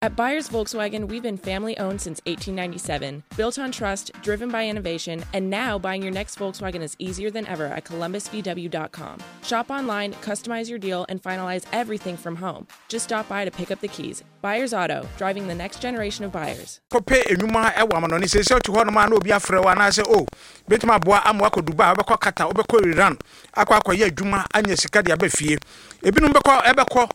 At Buyers Volkswagen, we've been family owned since 1897, built on trust, driven by innovation, and now buying your next Volkswagen is easier than ever at columbusvw.com. Shop online, customize your deal, and finalize everything from home. Just stop by to pick up the keys. Buyers Auto, driving the next generation of buyers. Kɔpɛ nnwuma wɔ amanɔne. Seesei wote hɔnom a na obi afrɛ wo anaasɛ o, bɛtumi aboa ama woakɔ Dubai, wobɛkɔ Qatar, wobɛkɔ Iran akɔ akɔyɛ adwuma anya sika de aba fie. Ebinom bɛkɔ ɛbɛkɔ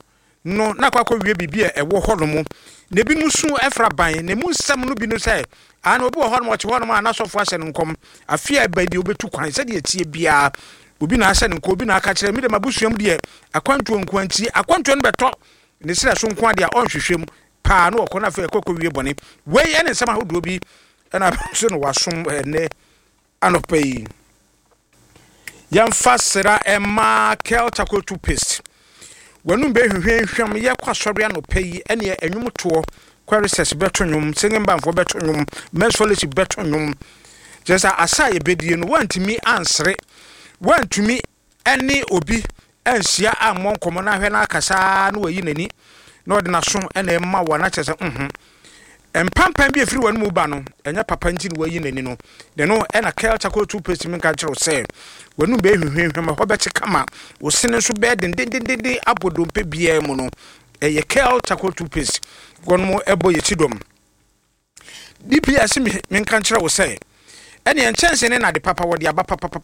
no na akɔ akɔwie biribi a ɛwɔ hɔnom. Na ebinom su fra ban, na emu nsɛm no bi ne sɛ, Aane, obi wɔ hɔnom, ɔte hɔnom a n'asɔfoɔ ahyɛ no nkɔm, afe a ɛba yi deɛ ɔbɛtu kwan, sɛdeɛ ɛteɛ biara, obi na ahyɛ no nkɔm, obi na aka kyerɛ, me deɛ m'abusua mu deɛ, akwantuo nko ara nti, akwantuo no bɛtɔ ne serɛ so nko ara deɛ a ɔnhwehwɛ mu paa na ɔkɔ na afei ɛkɔ kɔwie bɔne. Wei ne nsɛm ahodoɔ bi na so no wasom ɛnnɛ anɔpa yi. Yɛmfa sera mma Kel Charcoal Toothpaste. W'anum bɛhwehwɛnhwam. Yɛkɔ asɔre anɔpa yi, ɛneɛ ɛnwom toɔ. Choristers bɛto nnwom, singing bandfoɔ bɛto nnwom, men's fellowship bɛto nnwom. Kyerɛ sɛ asa a yɛbɛdie no, woantumi ansere, woantumi ne obi anhyia ammɔ nkɔmmɔ na ahwɛ no akasa ara na wayi n'ani na ɔde n'aso na ɛma wo a, na kyerɛ sɛ mhm. Mpampan bi a ɛfiri w'anomu ba no, ɛnyɛ papa nti na wayi n'ani no. Ne no na Kel Charcoal Toothpaste menka nkyerɛ wo sɛ w'anum bɛyɛ hwehwɛnhwɛm, ɛhɔ bɛkye kama, wo sene nso bɛyɛ dendendenden abɔ dompe biara mu no. Ɛyɛ Kel Charcoal Toothpaste. Wɔnom ɛbɔ yɛ kyidɔm. DPS menka nkyerɛ wo sɛ ɛneɛ nkyɛnse ne nade papa wɔde aba papapapa.